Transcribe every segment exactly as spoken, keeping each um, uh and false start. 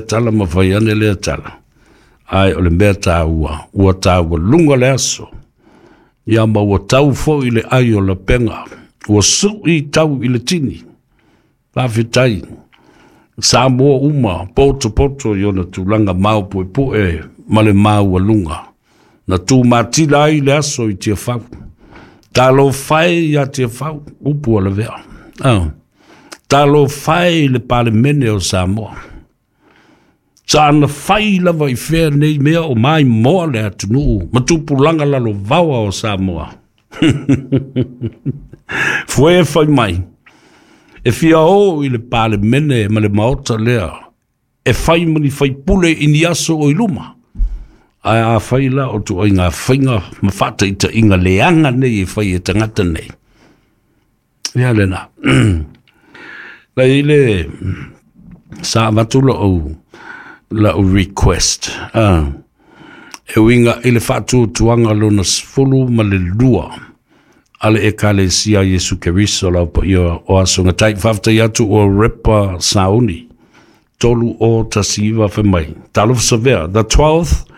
tala ma fai ane lea tala. Ae o le mea tāua, ua tāua lunga le aso. Ia ma ua tau foi le ai o lapega. Ua sui tau i le tini. Faafetai. Samoa uma, poto poto i ona tulaga maopuepue ma le maualuga. Na tumatila ai le aso i Tiafau. Talofa e ia Tiafau, upu o le vea. Ah. Talofa e i le Palemene o Samoa. Sa ana fai lava i fea nei mea o maimoa le atunuu ma tupulaga lalovaoa o Samoa. Fue fai mai, e fia o i le Palemene ma le maota lea, e fai ma ni faipule i ni aso o i luma. Ae a fai la o tuaiga faiga ma faataitaiga leaga nei e fai e tagata nei. Ia lena. La i le sa avatu lou lau request. Ah. E uiga i le faatuatuaga lona sefulu ma le lua a le Ekalesia Iesu Keriso lau paia o aso gatai. Faafetai atu o repa sauni. Tolu o tasi iva fai mai. Talofa Savea. The twelfth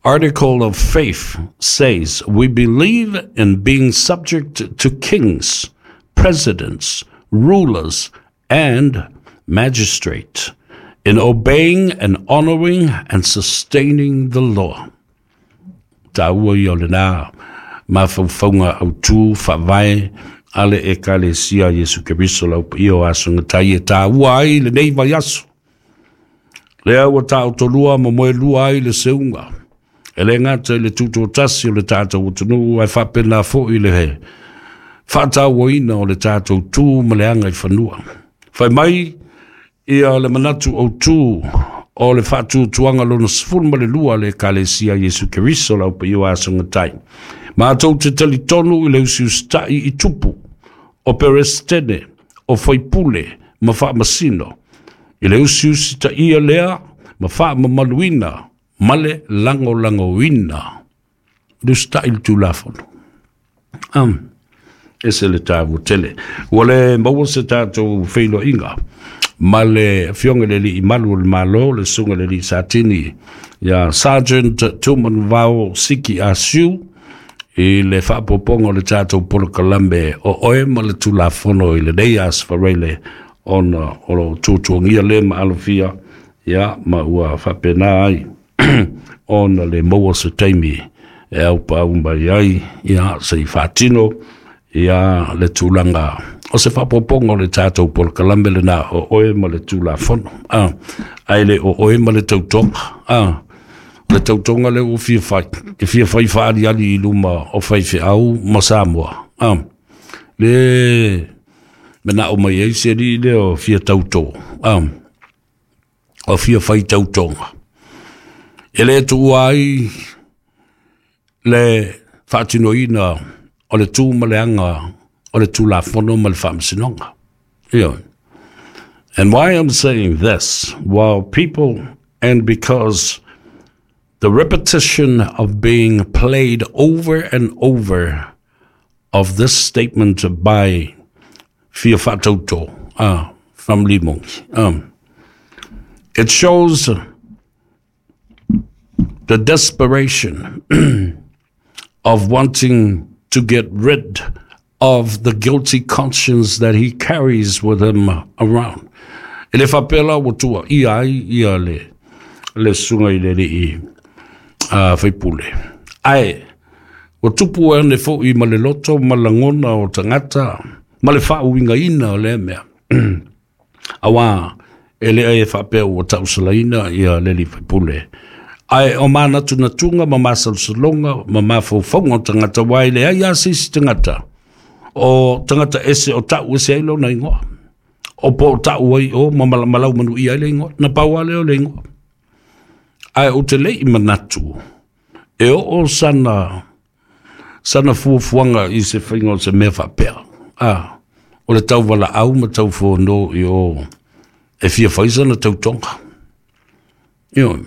article of faith says we believe in being subject to kings, presidents, rulers, and magistrate, in obeying and honoring and sustaining the law. Tāua ia o lena mafaufauga autū faavae a le Ekalesia Iesu Keriso lau paia o aso gatai e tāua ai lenei vaiaso. Lea ua taotolua ma moelua ai le seuga. E le gata i le tutotasi o le tatou atunuu ae faapena foi le faatauaina o le tatou tu ma le aga i fanua. Fai mai ia le manatu autū o le faatuatuaga lona sefulu ma le lua le Ekalesia Iesu Keriso lau paia o aso gatai. Matou te talitonu i le usiusita'i i tupu, o peresetene, o faipule ma faamasino. I le usiusitaia lea ma faamamaluina ma le lagolagoina. Le usita'i le Tulafono. Um, ese le tāua tele. Ua le maua se tatou feiloaiga ma le afioga le alii malu o le Malo, le susuga le alii Satini, ia Sergeant Tumanuvao Siki Asiu, i le faapopoga o le tatou polokalame o Oe ma le Tulafono i lenei aso faraile ona o lo tuatuagia le ma alofia ia ma ua faapena ai ona le maua se taimi e aupaau mai ai ia se i faatino ia le tulaga o se faapopoga o le tatou polokalame lena o Oe ma le Tulafono. Ah, ae le o Oe ma le Tautoga. Ah, le tautoga lea ua fia fai e fia fai faaliali i luma o faifeau ma Samoa. Ah, le manao mai ai se alii lea o fia tautō. Ah, o fia fai tautoga. E le tuua ai le faatinoina o le tu ma le aga o le Tulafono ma le Faamasinoga. Ia. And why I'm saying this, while people, and because the repetition of being played over and over of this statement by Fia Faatauto uh, from Limong, um, it shows the desperation of wanting to get rid of the guilty conscience that he carries with him around. E le faapea la ua tuuaia ai ia le, le susuga i le alii uh, faipule. Ae, ua tupu ane foi ma le loto ma lagona o tagata ma le faauigaina o lea mea. Auā, e le e faapea ua tausalaina ia le alii faipule. Ae o manatunatuga ma masalosaloga ma mafaufauga o tagata uae leai a se isi tagata. O tagata ese o tau ese ai lona igoa. O po o tau ai o ma malau manuia ai le igoa. Na pau lea o le igoa. Ae ou te le i manatu e oo sana sana fuafuaga i se faiga o se mea faapea. Ah, o le tauvalaau ma taufono i o e fia fai sana tautoga. Ioe.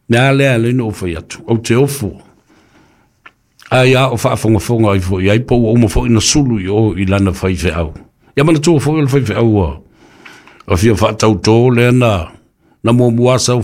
Mea lea le no fai atu. Ou te ofo. Ai a o faafogafoga ai foi ai po ua uma foi na sulu i o i lana faifeau. Ia manatua foi o le faifeau ua o fia faatautō lea na Na muamua sau.